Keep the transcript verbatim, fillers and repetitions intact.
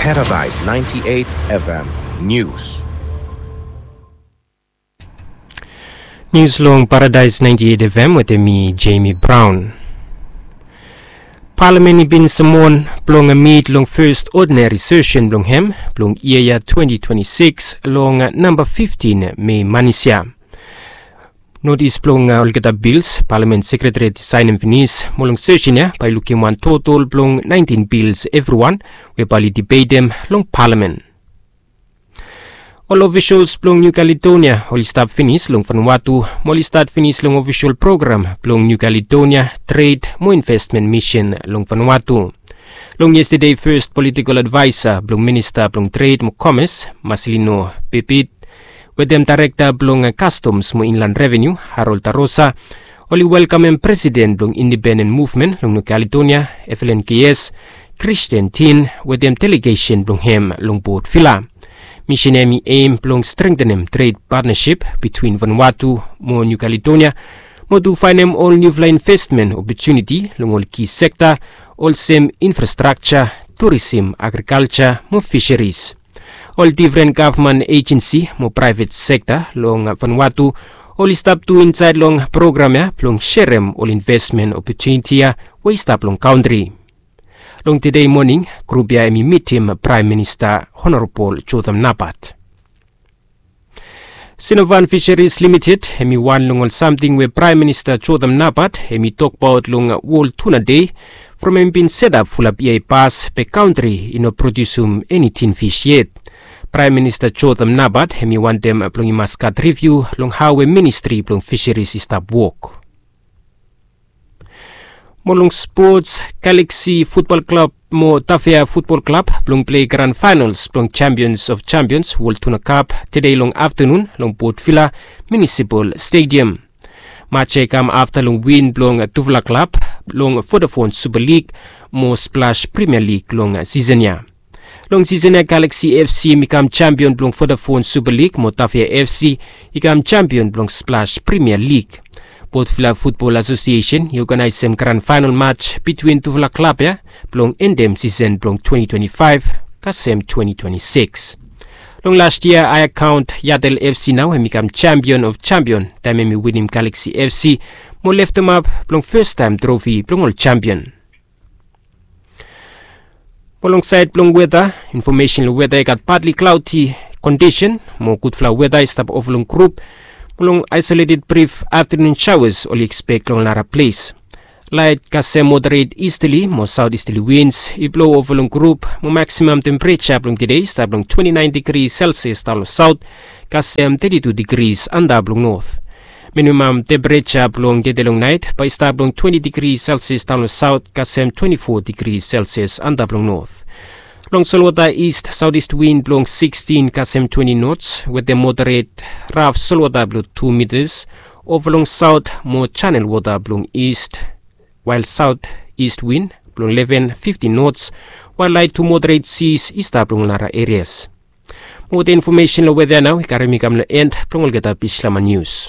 Paradise ninety-eight F M News. Nius long Paradise ninety-eight F M wetem mi, Jamie Brown. Palamen i bin samon blong mit long fes odinari sesen blong hem blong yia ya twenty twenty-six long namba fiftin Mei manis ya. Notis blong olgeta bils Palamen Sekretariat i saenem finis mo long sesen ya bae i lukim wan total blong naentin bils evriwan we bae oli dibetem long Palamen. Ol ofisals blong Niu Kaledonia oli stap finis long Vanuatu mo oli stat finis long ofisal program blong Niu Kaledonia Tred mo Investmen Misin long Vanuatu. Long yestade fes politikol advaesa blong minista blong tred mo komes, Marcelino Pepit, wetem daerekta blong kastoms mo inlan revenu, Harold Tarosa, oli welkamem presiden blong independen muvmen long Niu Kaledonia, Evelyn Keyes, Kristian Tin wetem delegesen blong hem long Port Vila. Misin ya hem i em blong strengtenem tred patnasip bitwin Vanuatu mo Niu Kaledonia mo tu faenem ol niufala investmen opotuniti long ol ki sekta olsem infrastrakja, turisim, agrikalja mo fiseris. Ol defren gavman ejensi mo praevet sekta long Vanuatu oli stap tu insaed long program ya blong serem ol investmen opotuniti ya we i stap long kantri. Long tede moning grup ya hem i mitim Praem Minista Honorabol Jotham Napat. Sinovan Fiseris Limited hem i wan long ol samting we Praem Minista Jotham Napat hem i tokbaot long Wol Tuna Dei from hem i bin setap fulap yia i pas be kantri i no prodiusum eni tin fis yet. Praem Minista Jotham Napat hem i wantem blong i mas gat riviu long hao we ministri blong fiseris i stap wok. Mo long spots, Galaxy Futbol Klab mo Tafea Futbol Klab blong plei gran faenals blong Champions of Champions Wol Tuna Kap tede long aftanun long Port Vila Munisipal Stadiam. Maj ya i kam afta long win blong tufala klab long Vodafone Super League mo Splash Premier League long sisen ya. Long sisen ya Galaxy F C hem i kam jampion blong Vodafone Super League mo Tafea F C i kam jampion blong Splash Premier League. Port Vila Futbol Asosiesen i oganaesem gran faenal maj bitwin tufala klab ya blong endem sisen blong twenty twenty-five kasem twenty twenty-six. Long las yia aekaon Yatel F C nao hem i kam jampion of jampion taem hem i winim Galaxy F C mo leftemap blong festaem trofi blong ol jampion. Mo long saed blong weta, infomesen long weta i gat patli klaodi kondisen mo gudfala weta i stap ova long grup. Mo long aesoleted brif aftanun saoas oli ekspek long nara ples. Laet kasem moderet istali mo saotistali wins i blo ova long grup mo maksimam tempereja blong tede i stap long twenti naen digri selsias daon long saot kasem teti tu digris antap long not. Minimam tempereja blong tede long naet bae i stap long twenti digri selsias daon long saot kasem twenti fo digri selsias antap long not. Long solwota ist saotist win blong sikstin kasem twenti nots wetem moderet raf solwota blong tu mitas ova long saot mo janel wota blong ist, wael saotist win blong leven fiftin nots, wael laet tu moderet sis i stap long nara erias. Mo wetem infomesen long weta ya nao i karem mi kam long en blong olgeta Bislama nius.